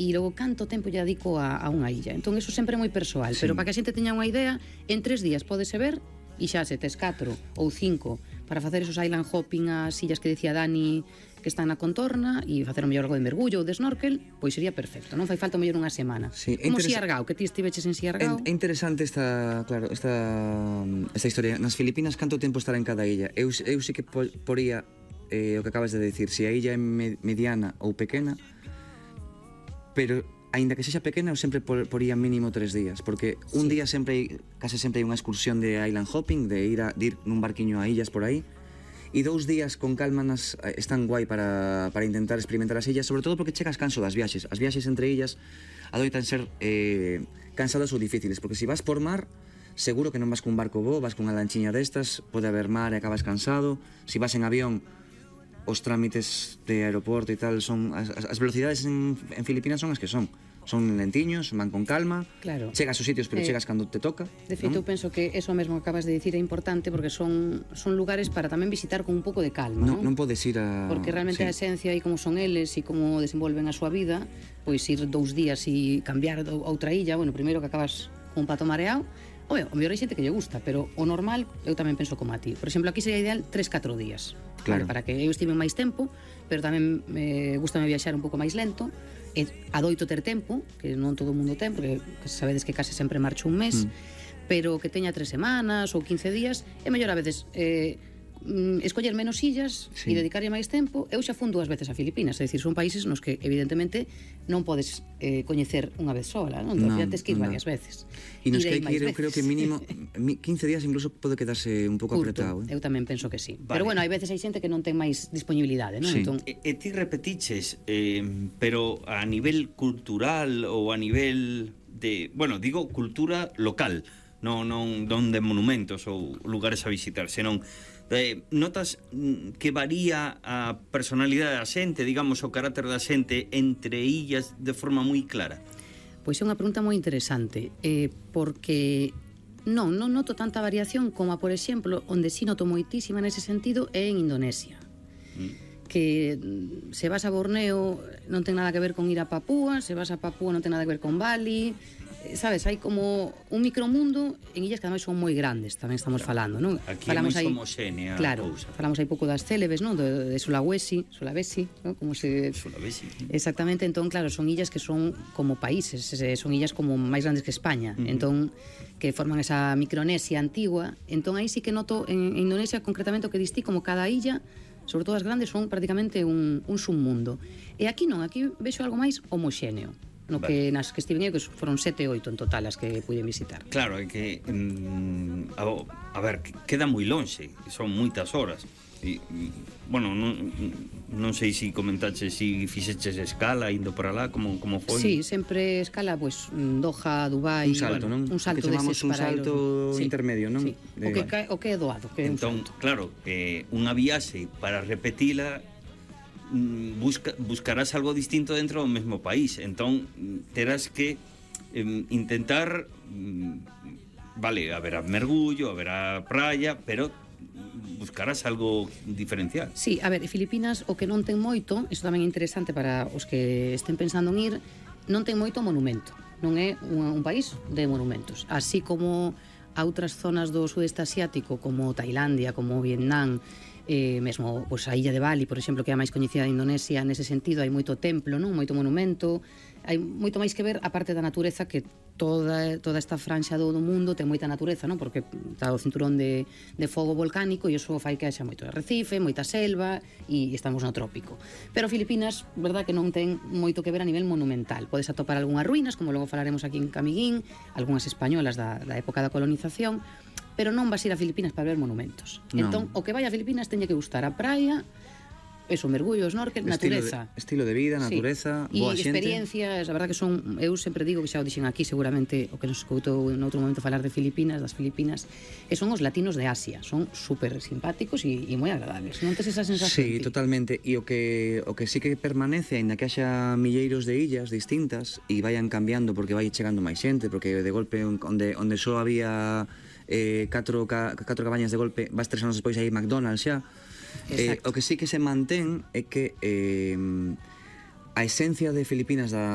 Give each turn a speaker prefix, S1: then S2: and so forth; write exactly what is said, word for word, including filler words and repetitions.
S1: e logo canto tempo lle dedico a, a unha illa. Entón, eso sempre é moi persoal,
S2: Sí.
S1: pero para que a xente teña unha idea, en tres días pódese ver, e xa se tes catro ou cinco para facer esos island hopping ás illas que decía Dani que están na contorna e facer o mellor algo de mergullo ou de snorkel, pois sería perfecto, non fai falta o mellor unha semana.
S2: Sí, é
S1: como
S2: interesa-
S1: Siargao, que ti estiveches en Siargao.
S2: É, é interesante esta, claro, esta, esta historia. Nas Filipinas, canto tempo estará en cada illa? Eu, eu sí que po- poría eh, o que acabas de decir, se a illa é me- mediana ou pequena, pero aínda que sexa pequena, eu sempre por, poría mínimo tres días, porque un
S1: Sí.
S2: día sempre hai, case sempre hai unha excursión de island hopping, de ir, a, de ir nun barquiño a illas por aí, e dous días con calma nas, eh, están guai para, para intentar experimentar as illas, sobre todo porque chegas canso das viaxes. As viaxes entre illas adoitan ser eh, cansadas ou difíciles, porque se vas por mar, seguro que non vas cun barco bo, vas cunha lanchiña destas, pode haber mar e acabas cansado. Se vas en avión, os trámites de aeroporto e tal son as, as velocidades en, en Filipinas son as que son son lentiños, van con calma,
S1: Claro.
S2: chegas aos sitios pero
S1: Eh,
S2: chegas cando te toca,
S1: De feito, eu
S2: non?
S1: penso que eso mesmo que acabas de dicir é importante porque son, son lugares para tamén visitar con un pouco de calma,
S2: non,
S1: non?
S2: non podes ir a...
S1: Porque realmente
S2: sí.
S1: a esencia e como son eles e como desenvolven a súa vida, pois ir dous días e cambiar a outra illa, bueno, primeiro que acabas con un pato mareado, o o mellor hai xente que lle gusta, pero o normal eu tamén penso como a ti. Por exemplo, aquí sería ideal tres catro días.
S2: Claro.
S1: Vale, para que eu estive máis tempo, pero tamén me gusta viaxar un pouco máis lento, e adoito ter tempo, que non todo o mundo ten, porque sabedes que case sempre marcho un mes, mm. pero que teña tres semanas ou quince días, é mellor a veces eh, mm, escoller menos illas
S2: Sí.
S1: e dedicarlle máis tempo. Eu xa fun dúas veces a Filipinas, é dicir, son países nos que evidentemente non podes eh, coñecer unha vez sola, non? Entón,
S2: Non,
S1: tens que ir
S2: non.
S1: varias veces.
S2: E nos que hai
S1: Irei
S2: que
S1: máis
S2: ir, eu creo que
S1: veces.
S2: mínimo mi- quince días incluso pode quedarse un pouco
S1: Curto,
S2: apretado, eh?
S1: eu tamén penso que sí.
S3: Vale.
S1: Pero bueno, hai veces hai xente que non ten máis disponibilidade, non?
S2: Sí.
S1: Entón,
S3: E, e ti repetiches, eh, pero a nivel cultural ou a nivel de, bueno, digo cultura local, non non non de monumentos ou lugares a visitar, senón eh, notas mm, que varía a personalidade da xente, digamos, o carácter da xente entre illas de forma moi clara.
S1: Pois é unha pregunta moi interesante, eh, porque non, non noto tanta variación como, a, por exemplo, onde sí noto moitísima nese sentido é en Indonesia.
S3: Mm.
S1: Que mm, se vas a Borneo non ten nada que ver con ir a Papúa, se vas a Papúa non ten nada que ver con Bali, eh, sabes, hai como un micromundo en illas que ademais son moi grandes, tamén estamos falando, non?
S3: Aquí
S1: falamos
S3: é moi
S1: aí,
S3: homoxénea a
S1: claro,
S3: cousa.
S1: falamos aí pouco das célebes, non? De, de Sulawesi, Sulawesi, non? Como se
S3: Sulawesi.
S1: Exactamente, entón, claro, son illas que son como países, eh, son illas como máis grandes que España, uh -huh. entón, que forman esa Micronesia antigua, entón aí sí que noto en, en Indonesia concretamente o que distí como cada illa, sobre todo as grandes, son prácticamente un, un submundo. E aquí non, aquí vexo algo máis homoxéneo, no
S3: Vale.
S1: que nas que estiven eu, que foron sete, oito en total as que pude visitar.
S3: Claro, é que mm, a, a ver, queda moi lonxe, son moitas horas. E, mm, bueno, non, non sei se si comentaches se si fixeches escala indo para lá, como, como foi.
S1: Sí, sempre escala, pues, Doha, Dubai,
S2: Un salto,
S1: bueno,
S2: non?
S1: un salto
S2: Que chamamos
S1: deses
S2: un
S1: para
S2: salto
S1: ir-
S2: intermedio, non?
S1: Sí.
S2: De-
S1: O que cae, o que é doado, que é un
S3: Entón,
S1: salto.
S3: claro, eh, unha viaxe para repetila mm, busca, buscarás algo distinto dentro do mesmo país. Entón, mm, terás que eh, intentar mm, vale, haberá mergullo, haberá praia, pero buscarás algo diferencial.
S1: Sí, a ver, Filipinas o que non ten moito, iso tamén é interesante para os que estén pensando en ir, non ten moito monumento, non é un, un país de monumentos, así como a outras zonas do sudeste asiático como Tailandia, como Vietnam, eh, mesmo pois, a illa de Bali, por exemplo, que é a máis coñecida de Indonesia, nese sentido hai moito templo, non, moito monumento, hai moito máis que ver a parte da natureza, que toda toda esta franxa do, do mundo ten moita natureza, non? Porque está o cinturón de, de fogo volcánico e iso fai que haxa moito arrecife, moita selva e estamos no trópico. Pero Filipinas, verdad que non ten moito que ver a nivel monumental. Podes atopar algunhas ruínas, como logo falaremos aquí en Camiguín, algunhas españolas da, da época da colonización, pero non vas ir a Filipinas para ver monumentos.
S2: Non.
S1: Entón, o que vai a Filipinas teñe que gustar a praia, eso, mergullo, snorkel,
S2: estilo
S1: natureza.
S2: de, estilo de vida, natureza,
S1: sí.
S2: boa
S1: E
S2: xente.
S1: experiencias, a verdad que son, eu sempre digo que xa o dixen aquí, seguramente o que nos escutou en outro momento falar de Filipinas, das Filipinas, que son os latinos de Asia, son super simpáticos e, e moi agradables. Non tes esa sensación?
S2: Sí,
S1: ti?
S2: totalmente. E o que o que sí que permanece, aínda que haxa milleiros de illas distintas e vayan cambiando porque vai chegando máis xente, porque de golpe onde onde só había eh, catro, ca, catro cabañas de golpe, vas tres anos despois aí McDonald's xa. Eh, o que sí que se mantén é que eh, a esencia de Filipinas da